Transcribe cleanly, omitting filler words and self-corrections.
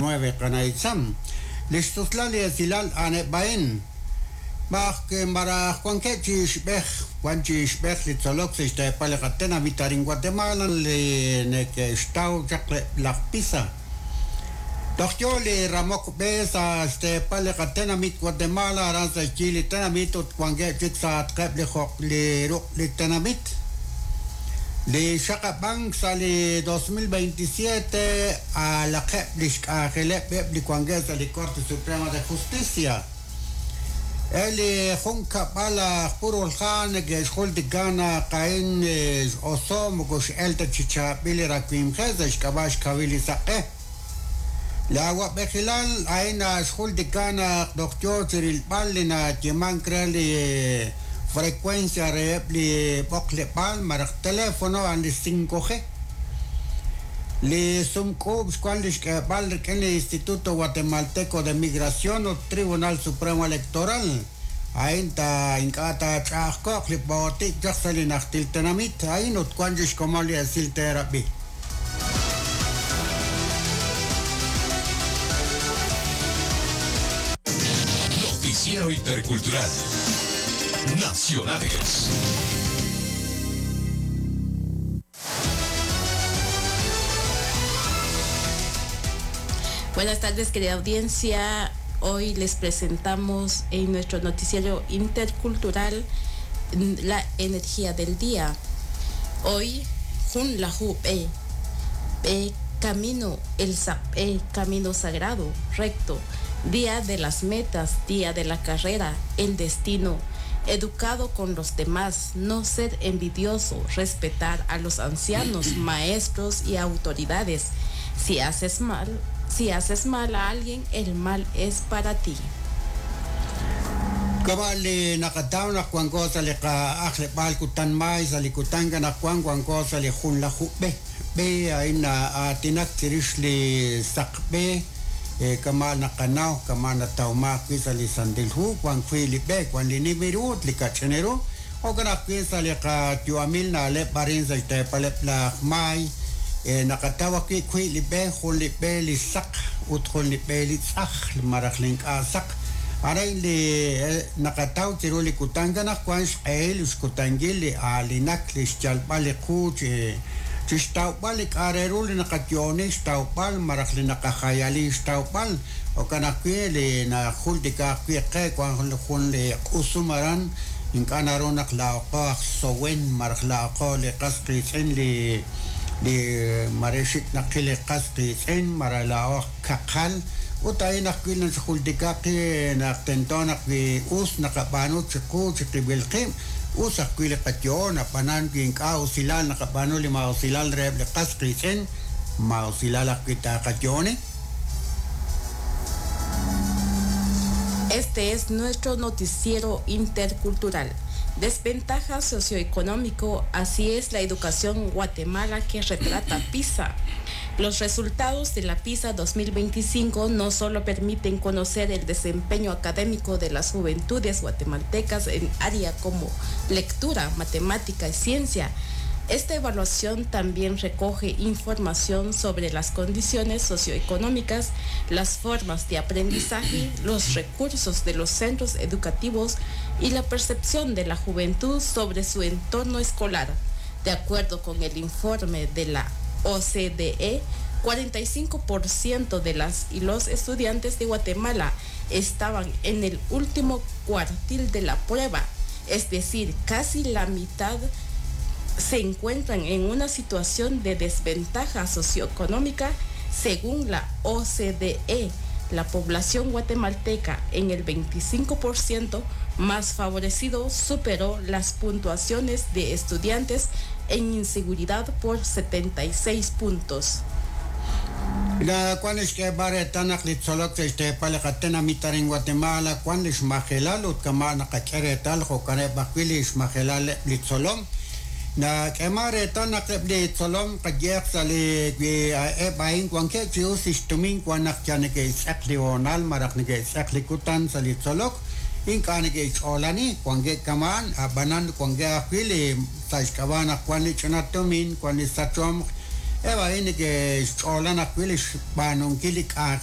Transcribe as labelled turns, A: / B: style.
A: 9 qana' Itzam. Li xtuslal li esilal a'aneb' a'in. B'aj maraj wankeb' chi ixb'ej, wan chi ixb'ej li tzolok sa' xteepal li qatenamit arin Guatemala li neke'xtaw chaq eb' laj PISA. Toj yo li ramok b'e sa' xteepal li qatenamit Guatemala aran sa' xyi li tenamit ut wankeb' chik sa'atqeb' li joq li ruq' li tenamit. Li xaqab'ank sa' li 2027 aalaqeb' li xk'anjeleb' eb' li wankeb' sa' li Corte Suprema de Justicia. Eb' li junkab'al aj Purulhá neke'xjultika naq a'in x'oso' moko x'elk ta chi chaab'il li rawimqeb' sa' xk'ab'a' xkawil li saq'e. Li awa'b'ejilal a'in naxjultika naq toj yo chi rilb'al li nayeemank re li frecuencia reheb' li b'oqleb'aal malaj teléfono a'an li 5G. Li sumk'uub' xwank li xk'eeb'al rik'in li Instituto Guatemalteco de Migración ut Tribunal Supremo Electoral. A'in ta ink'a' taach'a'ajko'q li b'ootik chaq sa' li najtil tenamit a'in ut wank chi xkomon li esil teerab'i.
B: Noticiero Intercultural. Nacionales.
C: Buenas tardes, querida audiencia. Hoy les presentamos en nuestro noticiero intercultural la energía del día. Hoy, Jun Lahu Be, Be camino, el Be, camino sagrado, recto, día de las metas, día de la carrera, el destino, educado con los demás, no ser envidioso, respetar a los ancianos, maestros y autoridades. Si haces mal, si haces mal a alguien, el mal es para ti.
A: Kama li naqataw naq wanko sa' li qa'ajleb'aal kutan maay sa' li kutan naq wan wanko sa' li junlaju b'e. B'e a'in na'aatinak chirix li saq b'e kama naqanaw kama natawmaaq wi' sa' li Santil Hu wan wi' li b'e wan li nim ru ut li kach'in ru. Jo'kan ajwi' sa' li qayu'amil na'leb' arin sa' xteepaleb' laj maay naqataw ajwi' wi' li b'e jun li b'e li saq ut jun li b'e li tz'aj malaj li ink'a' saq. Arin li naqataw chiru li kutan naq wan xq'ehil xkutankil li aalinak li xyalb'al li qu chi xtawb'al li k'a' re ru li naqayo'oni xtawb'al malaj li naqajayali xtawb'al. Jo'kan ajwi' li najultika ajwi' qe wan jun li q'usum aran ink'a' naru naq laa'oqo aj sowen malaj laa'oqo li qas qiitz'in li li mare xik' naqil li qas qiitz'in malaj laa'o aj kaqal ut a'in ajwi' naxjultika qi naq tento naq wi us naqab'aanu chiqu chiqib'il qib' us ajwi' li qayo'on ab'anan wi ink'a' usilal naqab'aanu li ma'usilal reheb' li qas qiitz'in ma'usilal ajwi' taaqayo'oni.
C: Este es nuestro noticiero intercultural. Desventaja socioeconómico, así es la educación Guatemala que retrata PISA. Los resultados de la PISA 2025 no solo permiten conocer el desempeño académico de las juventudes guatemaltecas en área como lectura, matemática y ciencia. Esta evaluación también recoge información sobre las condiciones socioeconómicas, las formas de aprendizaje, los recursos de los centros educativos y la percepción de la juventud sobre su entorno escolar. De acuerdo con el informe de la OCDE, 45% de las y los estudiantes de Guatemala estaban en el último cuartil de la prueba, es decir, casi la mitad se encuentran en una situación de desventaja socioeconómica según la OCDE. La población guatemalteca en el 25% más favorecido superó las puntuaciones de estudiantes en inseguridad por 76 puntos.
A: La wan xk'eeb'al reetal naq li tzolok sa' xteepal li qatenamit arin Guatemala wan li xmajelal ut kama' naqak'e reetal jo'kaneb' ajwi' li xmajelal eb' li tzolom. Nak'eeman reetal naq eb' li tzolom qayeq sa' li wi eb' a'in wankeb' chi us li xtumin wan naq yal neke'xtz'eq li hoonal malaj neke'xtz'eq li kutan sa' li tzolok ink'a' neke'xch'oolani wankeb' kama'an ab'anan wankeb' ajwi' li sa' xk'ab'a' naq wan li ch'ina tumin wan li sachomq eb' a'in neke'xch'oolan ajwi' li xb'aanunkil li k'anjel.